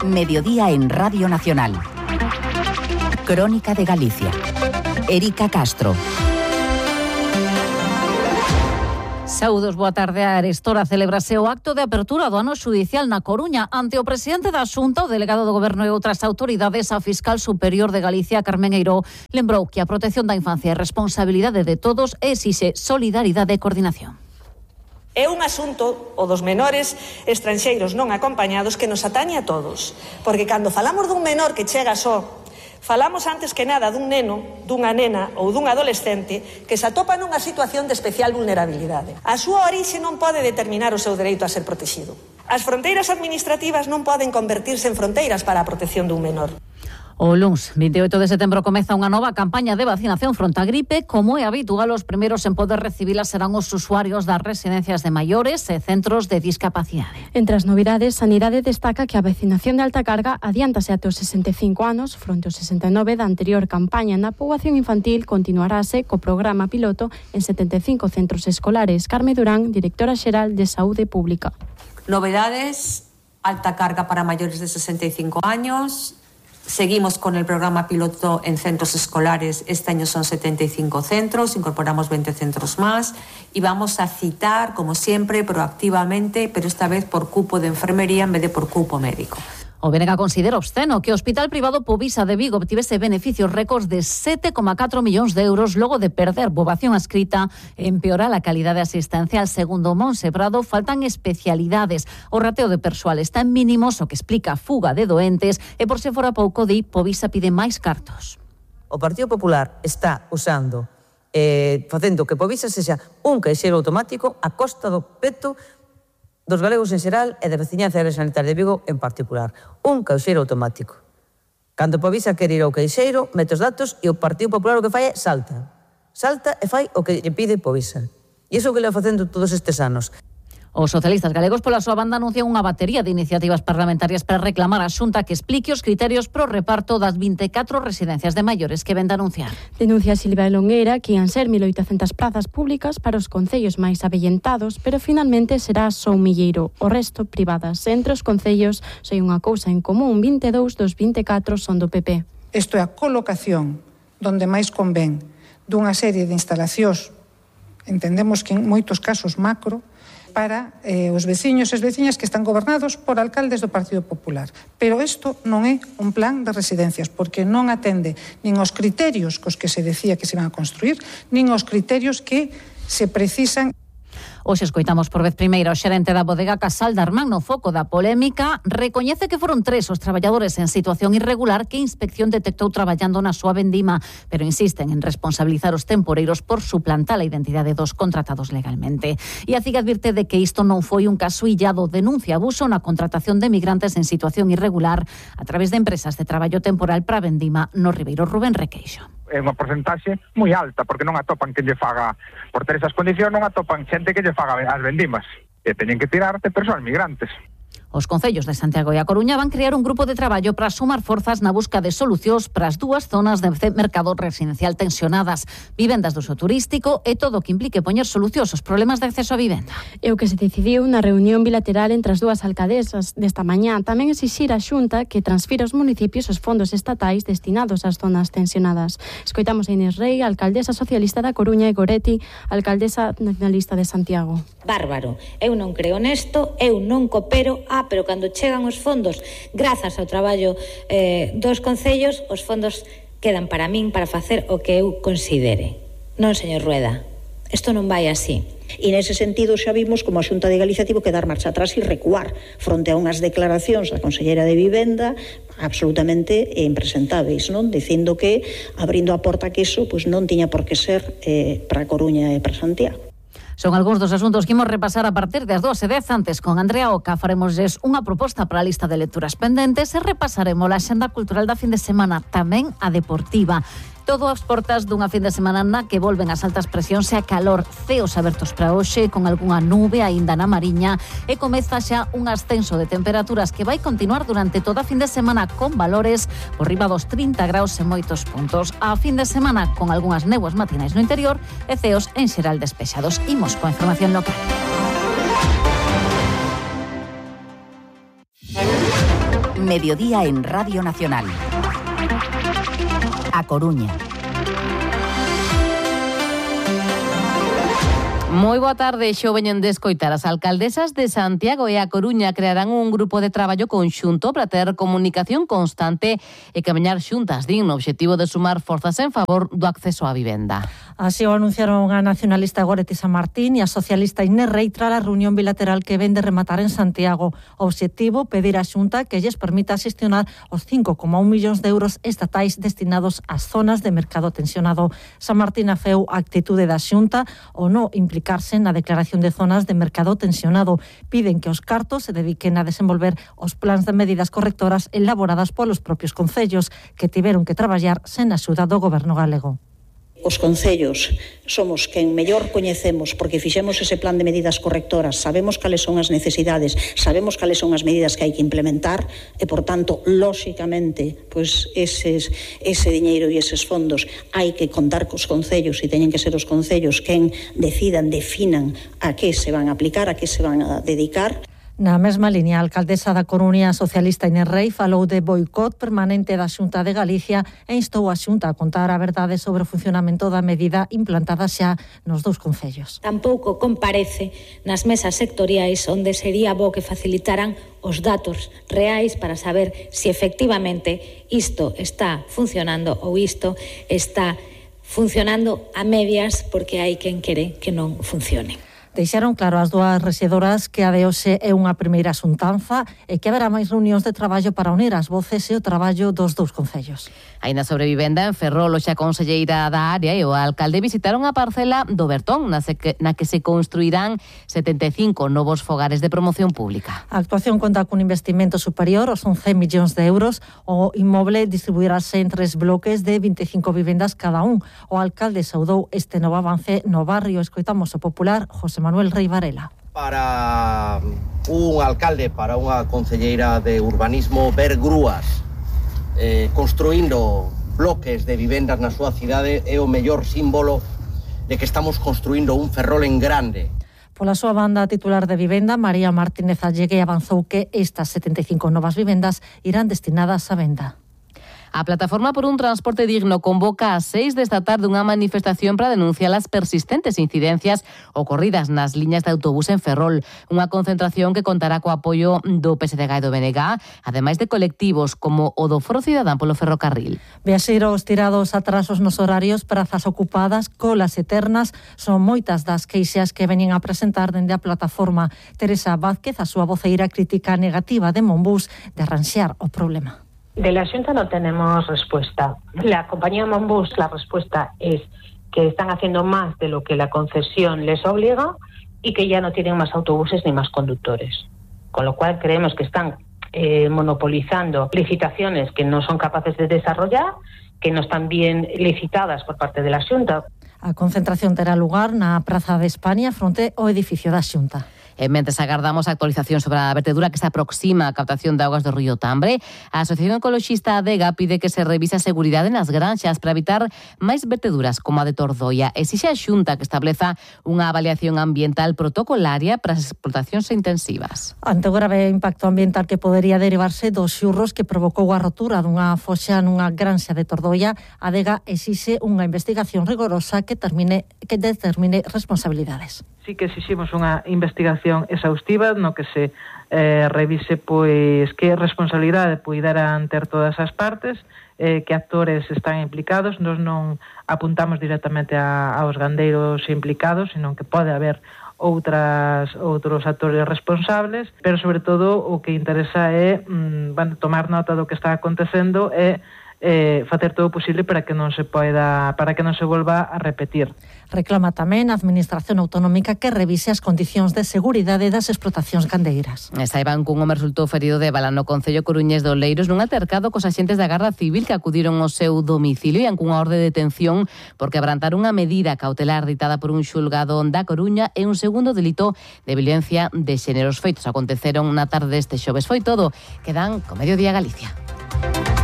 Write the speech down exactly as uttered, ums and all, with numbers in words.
Mediodía en Radio Nacional. Crónica de Galicia. Erika Castro. Saúdos, boa tarde. A Arestora celebrase o acto de apertura do ano xudicial na Coruña ante o presidente da Xunta, o delegado do Goberno e outras autoridades. A fiscal superior de Galicia, Carmen Eiró, lembrou que a protección da infancia é responsabilidade de todos e exixe solidaridade e coordinación. É un asunto, o dos menores estranxeiros non acompañados, que nos atañe a todos. Porque cando falamos dun menor que chega só, falamos antes que nada dun neno, dunha nena ou dun adolescente que se atopa nunha situación de especial vulnerabilidade. A súa orixe non pode determinar o seu dereito a ser protegido. As fronteiras administrativas non poden convertirse en fronteiras para a protección dun menor. O luns veintiocho de setembro comeza unha nova campaña de vacinación fronte á gripe. Como é habitual, os primeiros en poder recibila serán os usuarios das residencias de maiores e centros de discapacidade. Entre as novidades, Sanidade destaca que a vacinación de alta carga adiántase até os sesenta e cinco anos, fronte aos sesenta e nove da anterior campaña. Na poboación infantil continuarase co programa piloto en setenta e cinco centros escolares. Carme Durán, directora xeral de Saúde Pública. Novedades: alta carga para maiores de sesenta e cinco años. Seguimos con el programa piloto en centros escolares. Este año son setenta y cinco centros, incorporamos veinte centros más y vamos a citar, como siempre, proactivamente, pero esta vez por cupo de enfermería en vez de por cupo médico. O B N G considera obsceno que o Hospital Privado Povisa de Vigo obtivese beneficios récords de sete coma catro millóns de euros logo de perder poboación adscrita e empeorar a calidade asistencial. Segundo Monse Prado, faltan especialidades. O rateo de persoal está en mínimos, o que explica a fuga de doentes, e por se fora pouco, di, Povisa pide máis cartos. O Partido Popular está usando, eh, facendo que Povisa sexa un caixeiro automático a costa do peto dos galegos en xeral e da veciñanza da área sanitaria de Vigo en particular. Un caixeiro automático. Cando Povisa quere ir ao caixeiro, mete os datos e o Partido Popular o que fai é salta. Salta e fai o que lle pide Povisa. E iso que le va facendo todos estes anos. Os socialistas galegos, pola súa banda, anuncian unha batería de iniciativas parlamentarias para reclamar á Xunta que explique os criterios pro reparto das vinte e catro residencias de maiores que ven de anunciar. Denuncia Silvia Longueira que ian ser mil oitocentas plazas públicas para os concellos máis avellentados, pero finalmente será só un milleiro, o resto privadas. Entre os concellos sei unha cousa en común, vinte e dous dos vinte e catro son do P P. Isto é a colocación donde máis convén dunha serie de instalacións, entendemos que en moitos casos macro, para eh, os veciños e as veciñas que están gobernados por alcaldes do Partido Popular. Pero isto non é un plan de residencias, porque non atende nin os criterios cos que se decía que se van a construir, nin os criterios que se precisan. Hoxe escoitamos por vez primeira o xerente da bodega Casal de Armán no foco da polémica. Recoñece que foron tres os traballadores en situación irregular que a inspección detectou traballando na súa vendima, pero insisten en responsabilizar os temporeiros por suplantar a identidade dos contratados legalmente. E a C I G advirte de que isto non foi un caso illado. Denuncia abuso na contratación de migrantes en situación irregular a través de empresas de traballo temporal para a vendima no Ribeiro. Rubén Requeixo. É unha porcentaxe moi alta, porque non atopan que lle faga, por ter esas condicións, non atopan xente que lle faga as vendimas, e teñen que tirar de persoas migrantes. Os concellos de Santiago e A Coruña van crear un grupo de traballo para sumar forzas na busca de solucións para as dúas zonas de mercado residencial tensionadas, vivendas do uso turístico e todo o que implique poñer solucións aos problemas de acceso á vivenda. É o que se decidiu na reunión bilateral entre as dúas alcaldesas desta mañá. Tamén exixir á Xunta que transfira aos municipios os fondos estatais destinados ás zonas tensionadas. Escoitamos a Inés Rei, alcaldesa socialista da Coruña, e Goretti, alcaldesa nacionalista de Santiago. Bárbaro. Eu non creo nesto, eu non coopero a pero cando chegan os fondos, grazas ao traballo eh, dos concellos, os fondos quedan para min para facer o que eu considere. Non, señor Rueda, isto non vai así. E nese sentido xa vimos como a Xunta de Galicia tivo que dar marcha atrás e recuar fronte a unhas declaracións da Conselleira de Vivenda absolutamente impresentáveis, non? Dicindo que abrindo a porta que iso pois non tiña por que ser eh, para a Coruña e para Santiago. Son algúns dos asuntos que imos repasar a partir das dúas e dez. Antes, con Andrea Oca, faremosles unha proposta para a lista de lecturas pendentes e repasaremos a axenda cultural da fin de semana, tamén a deportiva. Todo ás portas dunha fin de semana na que volven as altas presións e a calor. Ceos abertos para hoxe, con algunha nube aínda na Mariña, e comeza xa un ascenso de temperaturas que vai continuar durante toda a fin de semana con valores por riba dos trinta graus en moitos puntos. A fin de semana con algunhas néboas matinais no interior e ceos en xeral despexados. Imos coa información local. Mediodía en Radio Nacional. A Coruña. Moi boa tarde, xo veñen de escoitar. As alcaldesas de Santiago e A Coruña crearán un grupo de traballo conxunto para ter comunicación constante e camiñar xuntas, din, no obxectivo de sumar forzas en favor do acceso á vivenda. Así o anunciaron a nacionalista Goretti San Martín e a socialista Inés Rei tras a reunión bilateral que ven de rematar en Santiago. O obxectivo, pedir á Xunta que lles permita xestionar os cinco coma un millóns de euros estatais destinados ás zonas de mercado tensionado. San Martín afeu a actitude da Xunta o no implicar na declaración de zonas de mercado tensionado. Piden que os cartos se dediquen a desenvolver os plans de medidas correctoras elaboradas polos propios concellos que tiveron que traballar sen axuda do goberno galego. Os concellos somos quen mellor coñecemos porque fixemos ese plan de medidas correctoras, sabemos cales son as necesidades, sabemos cales son as medidas que hai que implementar e, por tanto, lóxicamente, pois eses, ese diñeiro e eses fondos hai que contar cos concellos e teñen que ser os concellos quen decidan, definan a que se van a aplicar, a que se van a dedicar. Na mesma liña, a alcaldesa da Coruña socialista Inés Rei falou de boicot permanente da Xunta de Galicia e instou a Xunta a contar a verdade sobre o funcionamento da medida implantada xa nos dous concellos. Tampouco comparece nas mesas sectoriais onde sería bo que facilitaran os datos reais para saber se efectivamente isto está funcionando ou isto está funcionando a medias porque hai quen quere que non funcione. Deixaron claro as dúas rexidoras que a de hoxe é unha primeira xuntanza e que haberá máis reunións de traballo para unir as voces e o traballo dos dous concellos. Aínda sobre vivenda, en Ferrol, xa a conselleira da área e o alcalde visitaron a parcela do Bertón, na, que, na que se construirán setenta e cinco novos fogares de promoción pública. A actuación conta cun investimento superior aos once millóns de euros. O inmoble distribuirase en tres bloques de vinte e cinco vivendas cada un. O alcalde saudou este novo avance no barrio. Escoitamos o popular José Manuel Rei Varela. Para un alcalde, para unha concelleira de urbanismo, ver grúas eh, construindo bloques de vivendas na súa cidade é o mellor símbolo de que estamos construindo un Ferrol en grande. Pola súa banda, titular de vivenda, María Martínez Allegue, avanzou que estas setenta e cinco novas vivendas irán destinadas á venda. A Plataforma por un Transporte Digno convoca a seis desta tarde unha manifestación para denunciar as persistentes incidencias ocorridas nas liñas de autobús en Ferrol. Unha concentración que contará co apoio do P S D G e do B N G, ademais de colectivos como o do Foro Cidadán polo ferrocarril. Viaxeiros tirados atrasos nos horarios, prazas ocupadas, colas eternas, son moitas das queixas que veñen a presentar dende a plataforma. Teresa Vázquez, a súa voceira, crítica negativa de Monbús de arranxar o problema. De la Junta no tenemos respuesta. La compañía Monbús, la respuesta es que están haciendo más de lo que la concesión les obliga y que ya no tienen más autobuses ni más conductores. Con lo cual creemos que están eh, monopolizando licitaciones que no son capaces de desarrollar, que no están bien licitadas por parte de la Junta. A concentración terá lugar na Praza de España fronte ao edificio da Xunta. E mentres agardamos a actualización sobre a vertedura que se aproxima a captación de augas do río Tambre, a Asociación Ecoloxista Adega pide que se revise a seguridade nas granxas para evitar máis verteduras como a de Tordoia. Exixe a Xunta que estableza unha avaliación ambiental protocolaria para as explotacións intensivas. Ante o grave impacto ambiental que podería derivarse dos xurros que provocou a rotura dunha foxa nunha granxa de Tordoia, Adega exixe unha investigación rigorosa que termine que determine responsabilidades. Sí que exiximos unha investigación exhaustiva no que se eh, revise pois que responsabilidade puideran ter todas as partes, eh, que actores están implicados. Nos non apuntamos directamente a, aos gandeiros implicados, senón que pode haber outras outros actores responsables, pero sobre todo o que interesa é mm, bueno, tomar nota do que está acontecendo e eh, facer todo o posible para que non se poida, para que non se volva a repetir. Reclama tamén a Administración Autonómica que revise as condicións de seguridade das explotacións gandeiras. E saiban que un home resultou ferido de bala no concello coruñés de Oleiros nun altercado cos axentes da Garda Civil que acudiron ao seu domicilio e en cunha orde de detención porque abrantaron unha medida cautelar ditada por un xulgado da Coruña e un segundo delito de violencia de xénero. Os feitos aconteceron na tarde deste xoves. Foi todo. Quedan co Mediodía Galicia.